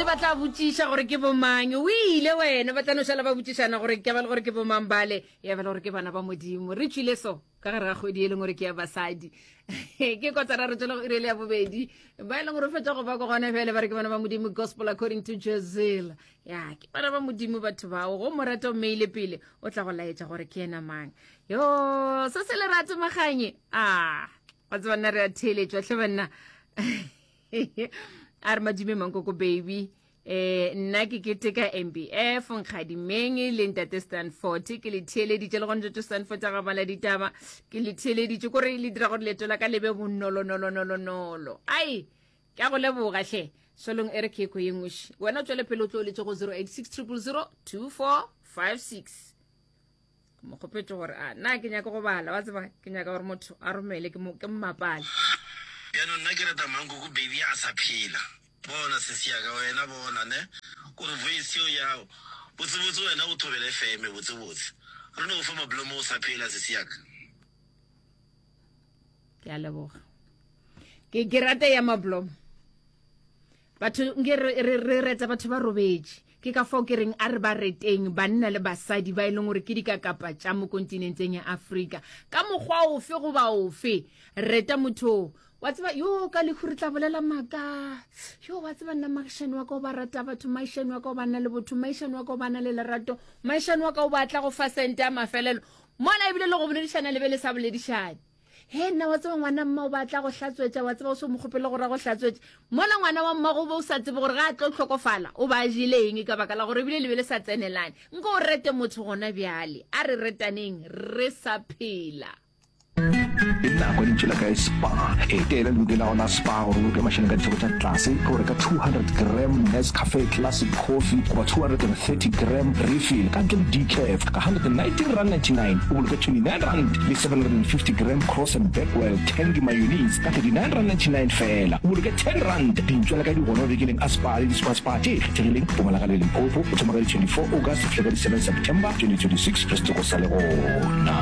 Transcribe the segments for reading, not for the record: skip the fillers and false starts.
Gabotse ba tla botšiša gore ke bomang. O ile wena, ba tla no šala ba botšišana gore ke ba le gore ke bomang bale, ya ba le gore ke bana ba Modimo. Re tšwile so ka gare ga kgwedi e leng gore ke ya basadi. Ke kotara re tšwele go iri ya bobedi. Ba e leng gore o fetša go ba ko gona bjale ba re ke bana ba Modimo gospel according to Jezil. Ya, ke bana ba Modimo batho bao. Go mo rata o mmeile pele, o tla go laetša gore ke yena mang. Yo, se se lerato maganye. Ah, wa tseba nna re a theeletšwa hle banna. a re madume mankoko baby eh nna ke keteka mbf nkgadimeng le ntate stanford ke le theeleditše le gone jojo stanford a ga bala ditaba ke le theeleditše kore le dira gore leeto la ka le be bonolonolonolonolo ai ke a go leboga hle solong e re ke ko ye nngwe wena o tswele pele o tlo o letse go 086 000 2456 Ke mo kgopetše gore a na ke nyaka go bala wa tseba ke nyaka gore motho a romele ke mo ke mmapale. Bjanong nna ke reta mankoko baby a sa phela bona sesi ya ka wena bona ne kore voice yeo yao botsebotse wena o thobela FM botsebotse re no fa mablomo o sa phela sesi ya ka. Ke a leboga ke ke rata ya mablomo Batho nke re, re, re reta batho ba robetše. Ke ka fao ke reng a re ba reteng banna le basadi ba e leng gore ke dikakapa tša mo kontinenteng ya Afrika. Ka mokgwa ofe goba ofe, reta motho o. Wa tseba, yo ka lehu re tla bolela maaka. Yo wa tseba nna magišane wa ka o ba rata batho, maišane wa ka o ba na le botho, maišane wa ka o ba na le lerato, maišane wa ka o ba tla go fa sente ya mafelelo. Mola ebile le go boledišana le be le sa boledišane. He nna wa tseba ngwana mma o ba tla go hlatswetša wa tseba o se mo kgopele gore a go hlatswetše mola ngwana wa mmago o be o sa tsebe gore ga a tlo hlokofala o ba a jele eng ka baka la gore ebile le be le sa tsenelane nko o rete motho gona bjale a re retaneng re sa phela. Ke nako ya Lentšu la Kae Spa. Etela lebenkele la gago la Spa gore o boloke mašeleng ka ditheko tša tlase ge o reka 200 gram Nescafe Classic Coffee goba 230 gram refill ka ntle le decaf ka R119.99, o boloke R29 le 750 gram Cross and Bakewell Tangy Mayonnaise ka R39.99 feela, o boloke R10. Dintšwa le ka di gona mabenkeleng a Spar le di-Spar Spar tše kgethegileng Mpumalanga le Limpopo go thoma ka di 24 August go fihla ka di 7 September 2026 ge setoko sa le gona.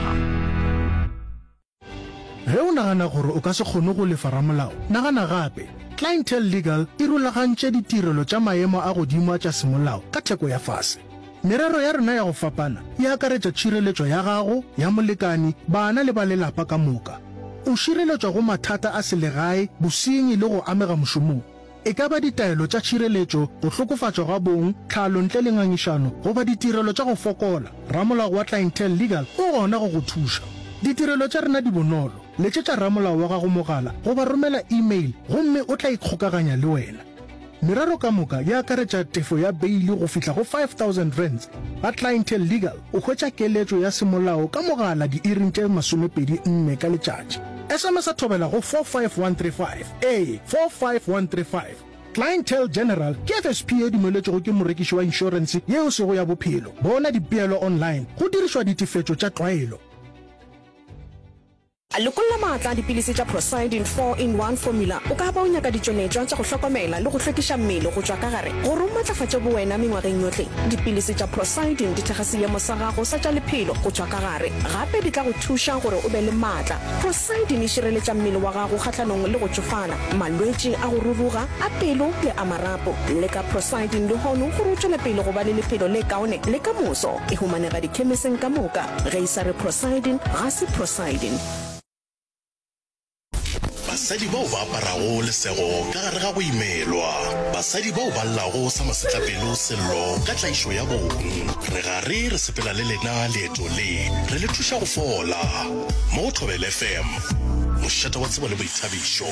Ge o nagana gore o ka se kgone go lefa ramolao, nagana gape. Clientele Legal e rulagantše ditirelo tša maemo a godimo a tša semolao ka theko ya fase. Merero ya rena ya go fapana e akaretša tšhireletšo ya gago, ya molekani, bana le ba lelapa ka moka. O šireletšwa go mathata a selegae, bosenyi le go amega mošomong. E ka ba ditaelo tša tšhireletšo, go hlokofatšwa ga bong, tlhalo ntle le ngangišano, goba ditirelo tša go fokola, ramolao wa Clientele Legal o gona go go thuša. Ditirelo tša rena di bonolo, letšetša ramolao wa gago mogala goba romela e-mail gomme o tla ikgokaganya le wena. Merero ka moka e akaretša tefo ya beili go fihla go R5000. Ga Clientele Legal o hwetša keletšo ya semolao ka mogala diiring tše 24 ka letšatši. SMS-a thobela go 45135. Ee, 45135. Clientele General ke FSP ye dumeletšwego ke morekiši wa inšorense ye e sego ya bophelo. Bona dipeelo online go dirišwa ditefetšo tša tlwaelo. Lokolla maatla a dipilisi tša Procyldin 4-in-1 Formula. O ka ba o nyaka ditšweletšwa tša go hlokomela le go hlwekiša mmele go tšwa ka gare gore o matlafatše bowena mengwageng yohle. Dipilisi tša Procyldin di thekga seemo sa gago sa tša lephelo go tšwa ka gare. Gape di tla go thuša gore o be le maatla. Procyldin e šireletša mmele wa gago kgahlanong le go tšofala, malwetši a go ruruga, a pelo le a marapo. Leka Procyldin lehono gore o tšwele pele go ba le lephelo le kaone le ka moso. E humanega dikhemiseng ka moka. Ge e sa re Procyldin, ga se Procyldin. Basadi bao ba aparago lesego ka gare ga go imelwa. Basadi bao ba llago sa masetlapelo sello ka tlaišo ya bong. Re gare re sepela le lena leeto le, re le thuša go fola. Mo go Thobela FM, mošate wa tsebo le boithabišo.